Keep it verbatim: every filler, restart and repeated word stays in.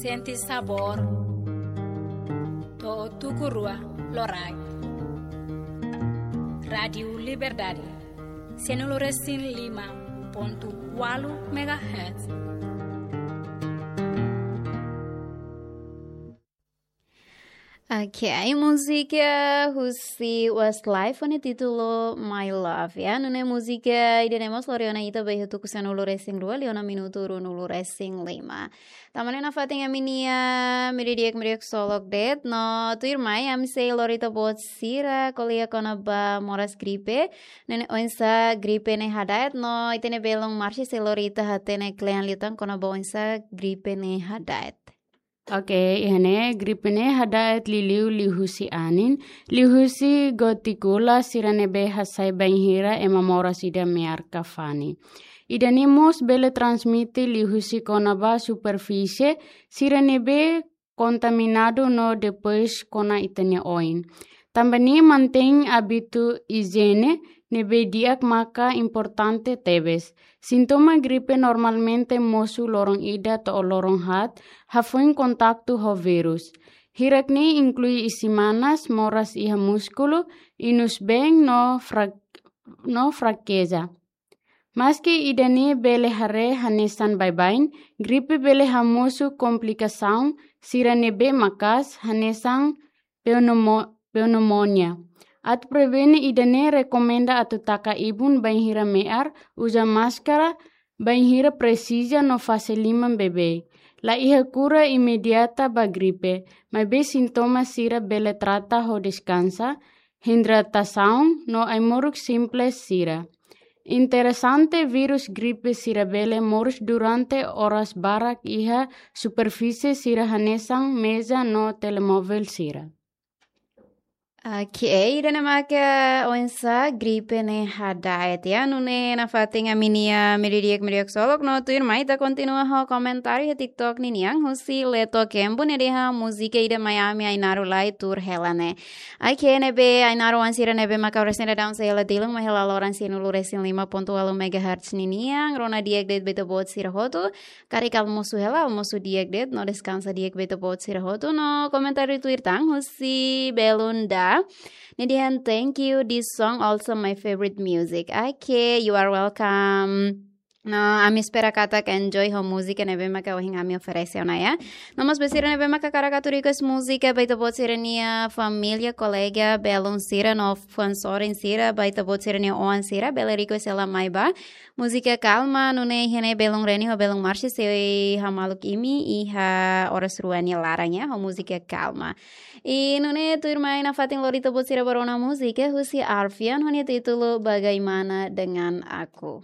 Sente sabór. To'o tuku rua loraik. Rádiu Liberdade. Sanulu resin lima pontu ualu megahertz. Ok, múzika husi Westlife ho nia títulu My Love, ya. Nune'e múzika ida-ne'e mós lori ona ita ba iha tuku sanulu resin rua, liu ona minutu ruanulu resin lima. Tanba ne'e nafatin ami-nia meiudia di'ak, meiudia di'ak ksolok de'it, no tuirmai ami sei lori ita-boot sira ko'alia kona-ba moras gripe, ne'e oinsá gripe ne'e hada'et, no ita-nia belun Marci sei lori ita hatene kle'an liután kona-ba oinsá gripe ne'e hada'et. Ok, iha ne'e gripe ne'e hada'et liuliu liuhusi anin, liuhusi gotíkula sira ne'ebé hasai bainhira ema moras ida me'ar ka fani. Ida-ne'e mós bele transmite liuhusi kona-ba superfísie sira ne'ebé kontaminadu no depois kona ita-nia oin. Tanba ne'e mantein ábitu ijiene ne'ebé di'ak maka importante tebes. Sintoma gripe normalmente mosu loron ida to'o loron haat, hafoin kontaktu ho vírus. Hirak-ne'e inklui isin-manas, moras iha múskulu, inus-been no frak-, no frakeza. Maski ida-ne'e bele haree hanesan baibain, gripe bele hamosu komplikasaun sira ne'ebé maka'as hanesan pneumo-, pneumonia. Atu prevene ida-ne'e rekomenda atu taka ibun bainhira me'ar, uza máskara bainhira presiza no fase liman beibeik. La iha kura imediata ba gripe, maibé sintoma sira bele trata ho deskansa, hidratasaun no ai-moruk simples sira. Interesante, vírus gripe sira bele moris durante oras barak iha superfísie sira hanesan meza no telemovel sira. Ok, ida-ne'e maka oinsá gripe ne'e hada'et, ya. Nune'e nafatin ami-nia meiudia di'ak, meiudia di'ak ksolok, no tuirmai ita kontinua ho komentáriu iha TikTok ninian husi Leto Kembu, nia dehan múzika ida mai ami Ainaro lai tuur hela ne'e. Ok, ne'ebé Ainaro oan sira ne'ebé maka oras ne'e daudaun sei hela tilun mai hela loron sanulu resin lima pontu ualu megahertz ninian, rona di'ak de'it ba ita-boot sira hotu, karik almosu hela, almosu di'ak de'it, no deskansa di'ak ba ita-boot sira hotu, no komentáriu tuir tan husi belun Da. Nia dehan, "Thank you, this song also my favorite music." Ok, you are welcome. No, ami espera katak enjoy ho múzika ne'ebé maka ohin ami oferese ona, ya. No mós ba sira ne'ebé maka hakarak atu request múzika ba ita-boot sira-nia família, kolega, belun sira no fans sorin sira, ba ita-boot sira-nia oan sira, bele request hela mai ba múzika Kalma, nune'e iha ne'e belun Reni ho belun Marci sei hamaluk imi iha oras rua nia laran, ya, ho múzika Kalma. I nune'e tuirmai nafatin lori ita-boot sira ba rona múzika husi Arfian ho nia títulu Bagaimana Dengan Aku.